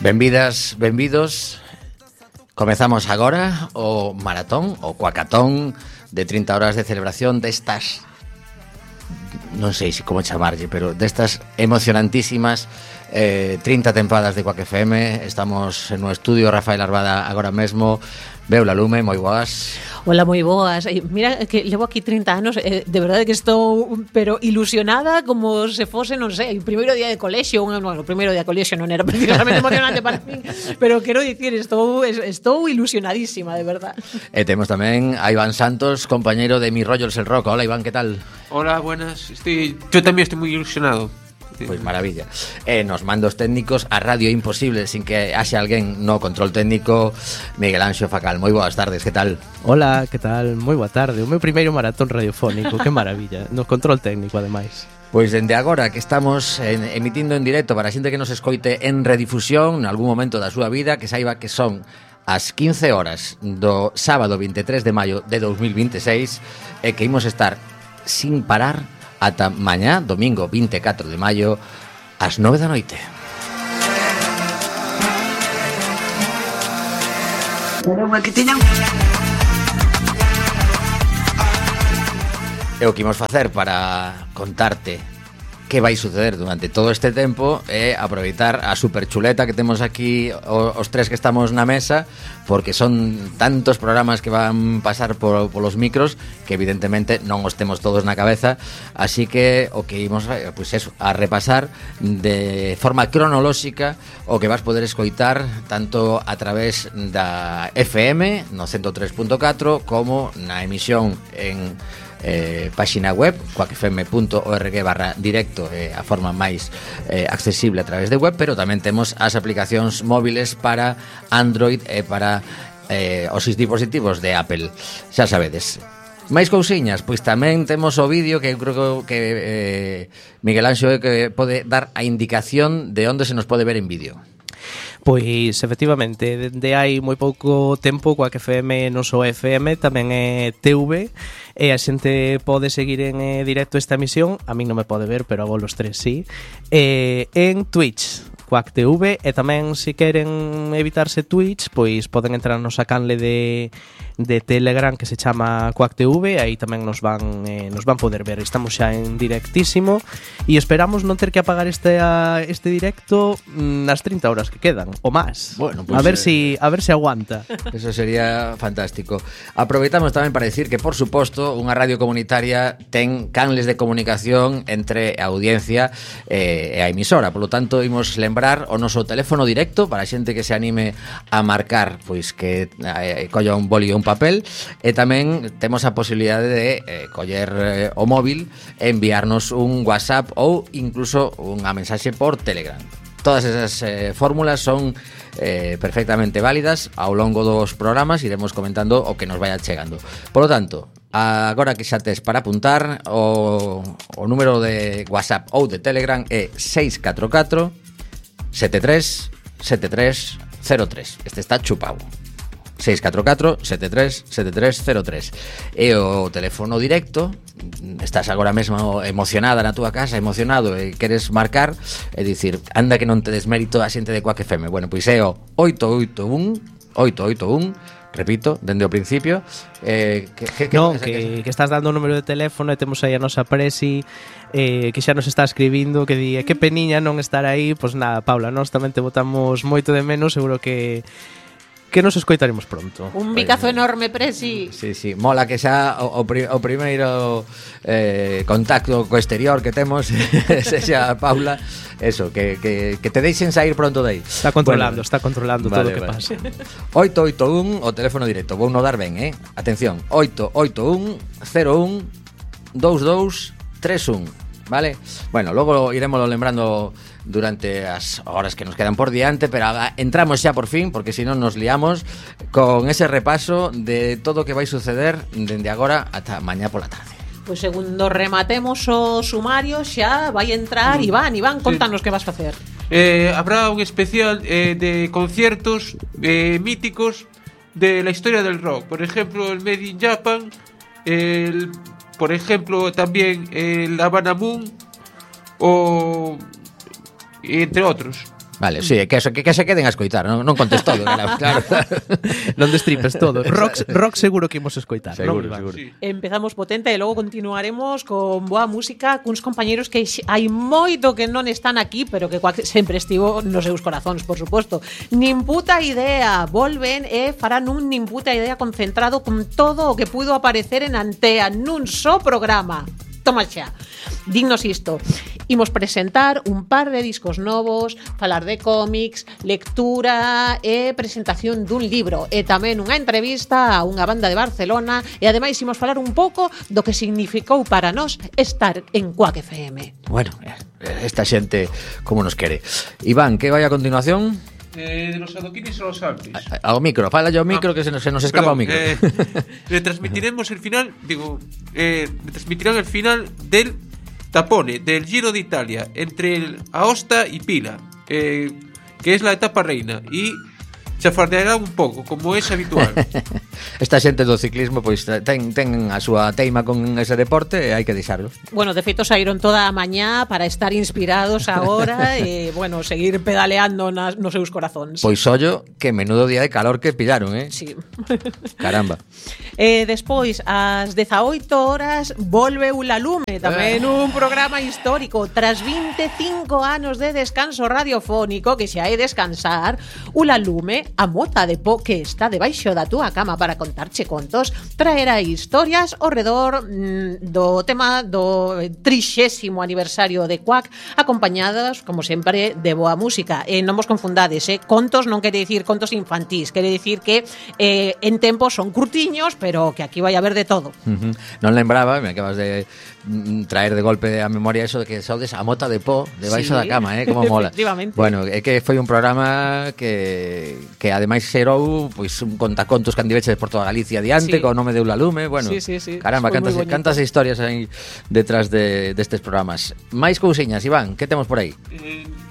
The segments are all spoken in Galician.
Benvidas, benvidos. Comezamos agora o maratón, o cuacatón de 30 horas de celebración destas, non sei como chamarlle, pero destas emocionantísimas 30 tempadas de Quack FM. Estamos no estudio Rafael Arbada agora mesmo. Beula Lume, moi boas. Hola, moi boas. Mira que levo aquí 30 anos, de verdade que estou pero ilusionada como se fose, non sei, o primeiro día de colexio. Bueno, o primeiro día de colexio non era precisamente emocionante para min, pero quero dicir, estou ilusionadísima, de verdad. E temos tamén a Iván Santos, compañeiro de Mi Rollos el Rock. Hola, Iván, que tal? Hola, buenas. Yo también estoy muy ilusionado. Pois maravilla. Nos mandos técnicos a Radio Imposible sin que haxe alguén no control técnico, Miguel Anxo Facal. Moi boas tardes, que tal? Hola, que tal? Moi boa tarde. O meu primeiro maratón radiofónico, que maravilla. No control técnico, ademais. Pois dende agora que estamos emitindo en directo para a xente que nos escoite en redifusión en algún momento da súa vida, que saiba que son as 15 horas do sábado 23 de maio de 2026 e que imos estar sin parar ata mañá, domingo 24 de maio, ás 9 da noite. E o que imos facer para contarte que vai suceder durante todo este tempo é aproveitar a superchuleta que temos aquí os tres que estamos na mesa, porque son tantos programas que van pasar polos micros que evidentemente non os temos todos na cabeza, así que o que imos pois eso, a repasar de forma cronolóxica o que vas poder escoitar tanto a través da FM no 103.4 como na emisión en páxina web quackfm.org/directo, a forma máis accesible a través de web, pero tamén temos as aplicacións móviles para Android e para os dispositivos de Apple. Xa sabedes. Máis cousiñas, pois tamén temos o vídeo que eu creo que Miguel Anxo que pode dar a indicación de onde se nos pode ver en vídeo. Pois, efectivamente, dende hai moi pouco tempo Quack FM non só FM, tamén é TV, e a xente pode seguir en directo esta emisión, a min non me pode ver, pero a vos los tres sí, en Twitch, Quack TV, e tamén se queren evitarse Twitch, pois poden entrar no canle de Telegram que se chama Quack TV, aí tamén nos van poder ver. Estamos xa en directísimo e esperamos non ter que apagar este directo nas 30 horas que quedan, ou máis. Bueno, pues, a ver si aguanta. Eso sería fantástico. Aproveitamos tamén para decir que, por suposto, unha radio comunitaria ten canles de comunicación entre a audiencia e a emisora. Por lo tanto, imos lembrar o noso teléfono directo para a xente que se anime a marcar, pois que colla un boli e un papel, e tamén temos a posibilidade de coller o móvil e enviarnos un WhatsApp ou incluso unha mensaxe por Telegram. Todas esas fórmulas son perfectamente válidas. Ao longo dos programas iremos comentando o que nos vaya chegando. Por lo tanto, agora que xa tes para apuntar, o número de WhatsApp ou de Telegram é 644 73 73 03. Este está chupado. 644 73 73 03. E o teléfono directo, estás agora mesmo emocionada na túa casa, emocionado e queres marcar e dicir, anda que non te desmérito a xente de Quack FM. Bueno, pois é o 881, repito, dende o principio, que estás dando o número de teléfono e temos aí a nosa presi que xa nos está escribindo, que di, que peniña non estar aí. Pois nada, Paula, nós tamén te botamos moito de menos, seguro que nos escoitaremos pronto. Un bicazo enorme, Presi. Sí, mola que xa o primeiro contacto co exterior que temos sexa Paula, eso, que te deixen sair pronto de aí. Está controlando todo o que pasa. 881, o teléfono directo, vou no dar ben, atención, 881 01 22 31, vale? Bueno, logo iremoslo lembrando durante as horas que nos quedan por diante, pero entramos xa por fin, porque senón nos liamos con ese repaso de todo o que vai suceder dende agora ata mañá pola tarde. Pois segundo rematemos o sumario xa vai entrar Iván, contanos que vas facer. Habrá un especial de conciertos míticos de la historia del rock, por ejemplo el Made in Japan, por ejemplo también el Havana Moon, o entre otros. Vale, sí, que se queden a escoitar, non contes todo, claro. Non destripes todo. Rock seguro que imos escoitar. Seguro, non, seguro. Sí. Empezamos potente e logo continuaremos con boa música cuns compañeros que hai moito que non están aquí, pero que sempre estivo nos seus corazóns, por suposto. Nin puta idea, volven e farán un nin puta idea concentrado con todo o que pudo aparecer en Antea nun só programa. Toma xa. Dignos isto. Imos presentar un par de discos novos, falar de cómics, lectura e presentación dun libro e tamén unha entrevista a unha banda de Barcelona e ademais imos falar un pouco do que significou para nós estar en Quack FM. Bueno, esta xente como nos quere. Iván, que vai a continuación? De los adoquines a los Alpes. Ao micro, fala yo ao micro que se nos escapa o micro. Retransmitiremos el final, retransmitirán el final del tapone del Giro de Italia entre Aosta y Pila, que es la etapa reina, y chafardeará un pouco, como es habitual. Esta xente do ciclismo pois ten a súa teima con ese deporte e hai que deixarlo. Bueno, de feito saíron toda a mañá para estar inspirados agora e, bueno, seguir pedaleando nos seus corazóns. Pois ollo, que menudo día de calor que pillaron, Sí. Caramba. Despois, ás 18 horas, volve Ula Lume, tamén un programa histórico. Tras 25 anos de descanso radiofónico, que xa é descansar, Ula Lume, a mota de po que está debaixo da túa cama para contarche contos, traerá historias ao redor do tema do 30º aniversario de Quack, acompañadas, como sempre, de boa música. E non vos confundades, contos non quere dicir contos infantís, quere dicir que en tempo son curtiños, pero que aquí vai haber de todo. Non lembraba, me acabas de traer de golpe a memoria eso de que sodes a mota de po debaixo da cama, como mola. Efectivamente. Bueno, é que foi un programa que ademais xerou pois un contacontos que andiveches por toda Galicia adiante, co nome de Ula Lume, bueno. Sí. Caramba, cantas historias hai detrás destes programas. Máis cousiñas, Iván, que temos por aí?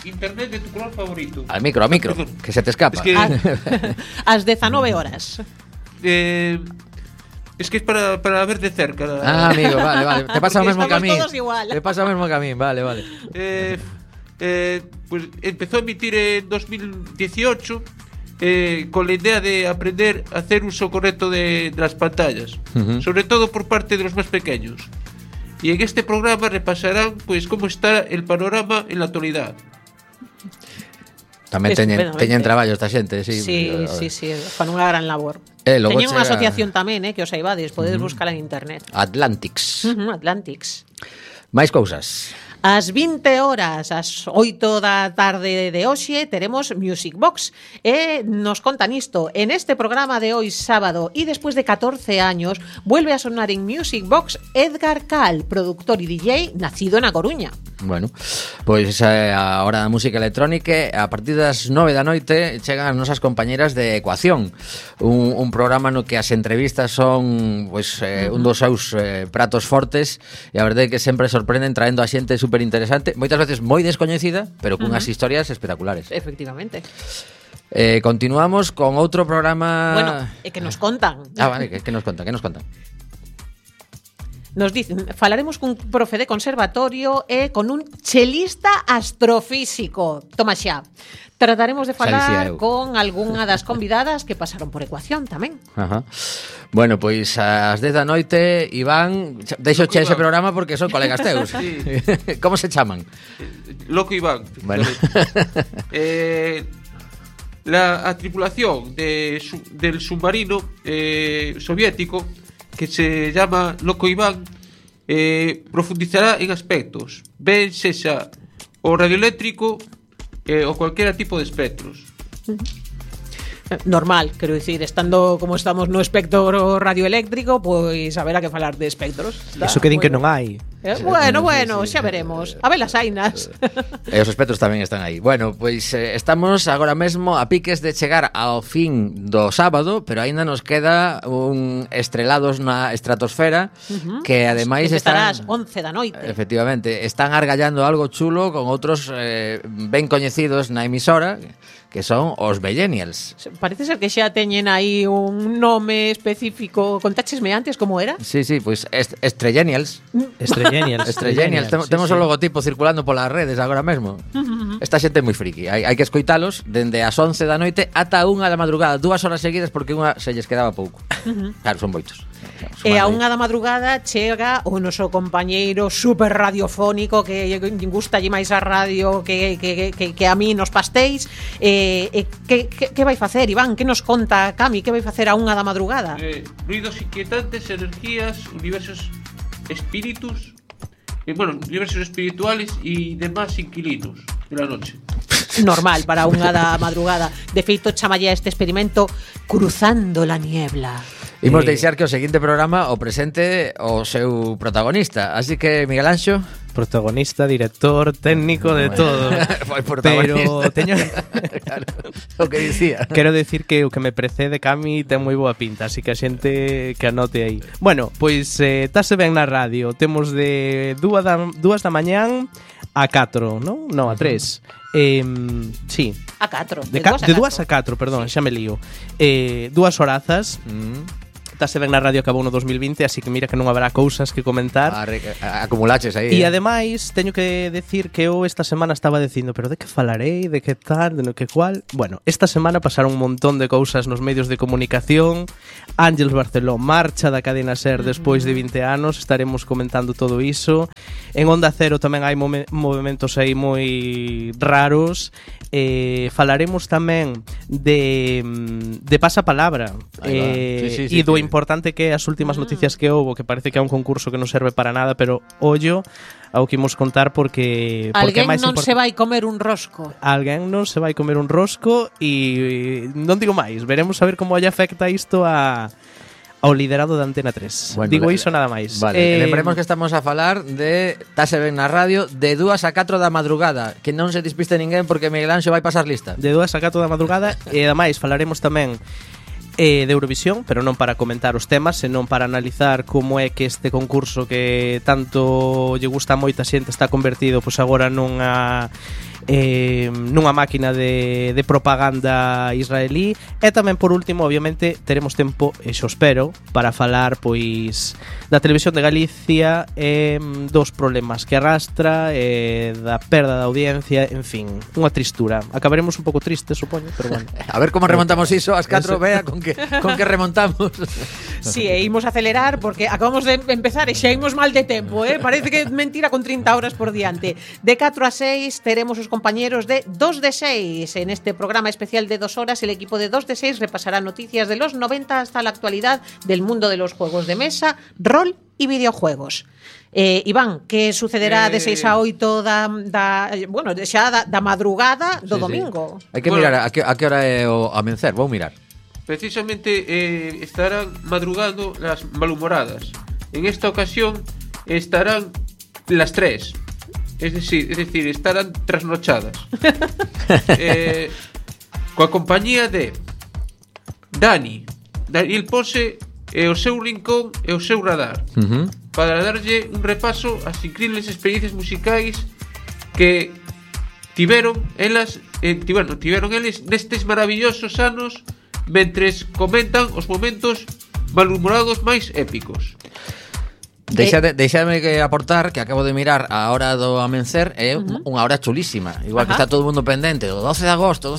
Internet de tu color favorito. Al micro, Perdón. que se te escapa. Es que, Ás 19 horas. es que es para ver de cerca. Amigo, vale. Te pasa o mesmo que a mí. Estamos todos igual. Te pasa o mesmo que a mí, vale. Pues empezó a emitir en 2018 con la idea de aprender a hacer uso correcto de las pantallas, sobre todo por parte de los más pequeños. Y en este programa repasarán pues cómo está el panorama en la actualidad. Tamén teñen traballo esta xente, sí. Sí, fan unha gran labor. Logo Teñen unha chega- asociación tamén, que os saibades, podedes buscar en internet. Atlantics. Atlantics. Máis cousas. Ás 20 horas, ás 8 da tarde de hoxe, teremos Music Box. E nos contan isto. En este programa de hoy, sábado, y después de 14 años, vuelve a sonar en Music Box Edgar Cal, productor y DJ, nacido en A Coruña. Bueno, pois esa é a hora da música electrónica. A partir das 9 da noite chegan as nosas compañeras de Ecuación, un programa no que as entrevistas son pois, un dos seus pratos fortes, e a verdade é que sempre sorprenden traendo a xente super interesante, moitas veces moi descoñecida, pero cunhas historias espectaculares. Efectivamente. Continuamos con outro programa. Bueno, é que nos contan. Vale, que nos contan? Nos dicen, falaremos cun profe de conservatorio e con un chelista astrofísico. Toma xa. Trataremos de falar con algunha das convidadas que pasaron por Ecuación tamén. Ajá. Bueno, pois ás 10 da noite, Iván, deixo che ese programa porque son colegas teus. Sí. Como se chaman? Loco Iván. Bueno. La tripulación del submarino soviético, que se llama Loco Iván, profundizará en aspectos, ben sexa o radioeléctrico o cualquiera tipo de espectros. Normal, quero dicir, estando como estamos no espectro radioeléctrico, pois haberá que falar de espectros. Eso que din que non hai. Bueno, xa veremos. A ver las ainas. E os espectros tamén están aí. Bueno, pois estamos agora mesmo a piques de chegar ao fin do sábado, pero aínda nos queda un Estrelados na Estratosfera, que ademais estará están... ás 11 da noite. Efectivamente, están argallando algo chulo con outros ben coñecidos na emisora, que son os Bellenials. Parece ser que xa teñen aí un nome específico. Contáchesme antes como era? Sí, pois Estrellenials. Estrellenials. Temos o logotipo circulando polas redes agora mesmo. Esta xente é moi friki. Hai que escoitalos dende as 11 da noite ata a 1 da madrugada, 2 horas seguidas porque unha se lles quedaba pouco. Claro, son moitos. E a 1 da madrugada chega o noso compañeiro super radiofónico que gusta lle máis a radio que a mí nos pastéis. Que vai facer, Iván? Que nos conta Cami? Que vai facer a 1 da madrugada? Ruidos inquietantes, energías, universos espíritus, universos espirituales y demás inquilinos de la noche. Normal para 1 da madrugada. De feito, chamalle a este experimento Cruzando la Niebla. Imos deixar que o seguinte programa o presente o seu protagonista. Así que, Miguel Anxo, protagonista, director, técnico, de todo. Pero teño claro, o que dicía. Quero decir que o que me precede Cami ten moi boa pinta, así que a xente que anote aí. Bueno, pois tase ben na radio. Temos de 2 da mañán a 4, non? Non, a 3. Sí. A 4. De 2 a 4, perdón, sí. Xa me lío. 2 horazas. Tase ben na radio, acabou no 2020, así que mira que non haberá cousas que comentar. Acumulaches aí. E ademais, teño que decir que eu esta semana estaba dicindo, pero de que falarei, de que tal, de no que cual. Bueno, esta semana pasaron un montón de cousas nos medios de comunicación. Ángeles Barceló marcha da cadena SER despois de 20 anos, estaremos comentando todo iso. En Onda Cero tamén hai movimentos aí moi raros. Falaremos tamén de pasapalabra e do importante que as últimas noticias que houbo, que parece que é un concurso que non serve para nada, pero ollo ao que imos contar porque alguén non se vai comer un rosco. Alguén non se vai comer un rosco e non digo máis, veremos a ver como lle afecta isto ao liderado da Antena 3. Bueno, digo iso nada máis. Vale, lembremos que estamos a falar de Tase ben na radio de 2 a 4 da madrugada, que non se despiste ninguén porque Miguel Anxo vai pasar lista. De 2 a 4 da madrugada e ademais falaremos tamén de Eurovisión, pero non para comentar os temas, senón para analizar como é que este concurso que tanto lle gusta a moita xente está convertido pois agora nunha máquina de propaganda israelí. E tamén por último, obviamente, teremos tempo, e xo espero, para falar pois da Televisión de Galicia e dos problemas que arrastra, da perda da audiencia, en fin, unha tristura. Acabaremos un pouco tristes, supoño, pero bueno. A ver como remontamos iso, as 4 vea con que remontamos. Sí, e imos acelerar porque acabamos de empezar e xa imos mal de tempo, parece que é mentira con 30 horas por diante. De 4 a 6 teremos os compañeros de 2 de 6. En este programa especial de 2 horas, el equipo de 2 de 6 repasará noticias de los 90 hasta la actualidad del mundo de los juegos de mesa, rol y videojuegos. Iván, que sucederá de 6 a 8 da madrugada do domingo? Hai que mirar a que hora é o amencer, vou mirar. Precisamente estarán madrugando las malhumoradas. En esta ocasión estarán las 3. Es decir, estarán trasnochadas. Coa compañía de Daniel Pose e o seu rincón e o seu radar, para darlle un repaso ás increíbles experiencias musicais que tiveron eles nestes maravillosos anos, mentres comentan os momentos malhumorados máis épicos. Deixadme que aportar que acabo de mirar a hora do amencer, é unha hora chulísima. Igual que está todo o mundo pendente do 12 de agosto,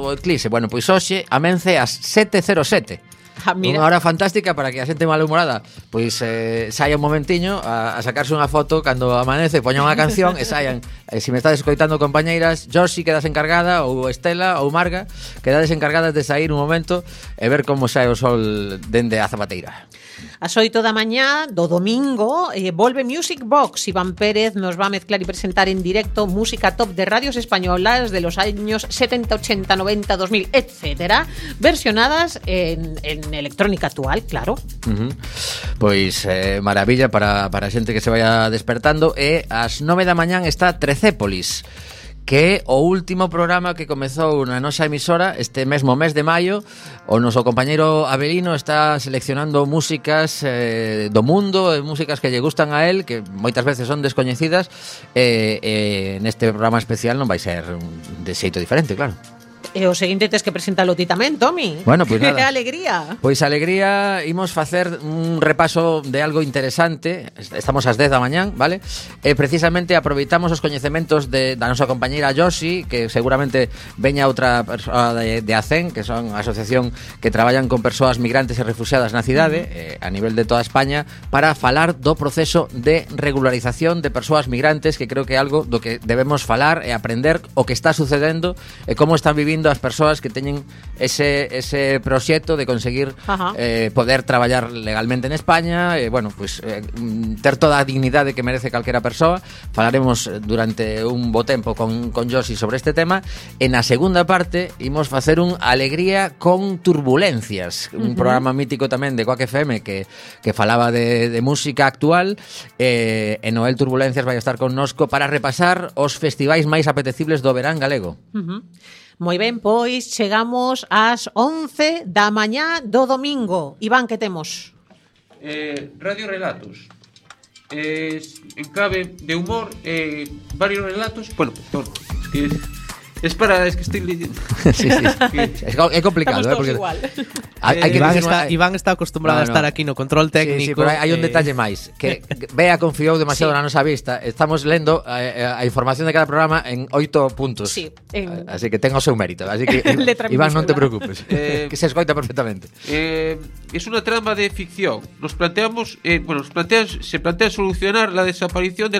o eclipse. Bueno, pois hoxe amence ás 7:07. Unha hora fantástica para que a xente malhumorada pois saia un momentiño a sacarse unha foto cando amanece, poña unha canción e saian. Se me estades escoitando, compañeiras, Josi quedas encargada, ou Estela ou Marga, quedades encargadas de sair un momento e ver como sae o sol dende a Zapateira. As 8 da mañá do domingo volve Music Box. Iván Pérez nos va a mezclar y presentar en directo música top de radios españolas de los años 70, 80, 90, 2000, etcétera, versionadas en electrónica actual, claro. Pois maravilla para a xente que se vaya despertando. E ás 9 da mañán está Trecépolis, que é o último programa que comezou na nosa emisora este mesmo mes de maio. O noso compañeiro Abelino está seleccionando músicas do mundo, músicas que lle gustan a él, que moitas veces son descoñecidas, neste programa especial non vai ser de xeito diferente, claro. E o seguinte tes que presentalo ti tamén, Tomi. Bueno, pois nada. Que alegría. Pois alegría, imos facer un repaso de algo interesante. Estamos ás 10 da mañán, vale? E precisamente aproveitamos os coñecementos da nosa compañeira Josi, que seguramente veña outra persoa de ACEN, que son a asociación que traballan con persoas migrantes e refugiadas na cidade, a nivel de toda España, para falar do proceso de regularización de persoas migrantes, que creo que é algo do que debemos falar e aprender o que está sucedendo e como están vivindo as persoas que teñen ese proxecto de conseguir poder traballar legalmente en España, bueno, pues ter toda a dignidade que merece calquera persoa. Falaremos durante un bo tempo con Josi sobre este tema. En a segunda parte imos facer un Alegría con Turbulencias, un programa mítico tamén de Quack FM que falaba de música actual, e Noel Turbulencias vai estar connosco para repasar os festivais máis apetecibles do verán galego. Moi ben, pois chegamos ás 11 da mañá do domingo. Iván, que temos? Radio Relatos. En clave de humor, varios relatos. Bueno, es que estoy leyendo. Sí. É complicado, estamos porque igual. Iván está acostumbrado a estar aquí no control técnico. Sí, pero hai un detalle máis, que Bea confiou demasiado na nosa vista. Estamos lendo a información de cada programa en 8 puntos. Sí, así que ten o seu mérito. Así que Iván, non te preocupes, que se escoita perfectamente. Es una trama de ficción. Se plantea solucionar la desaparición de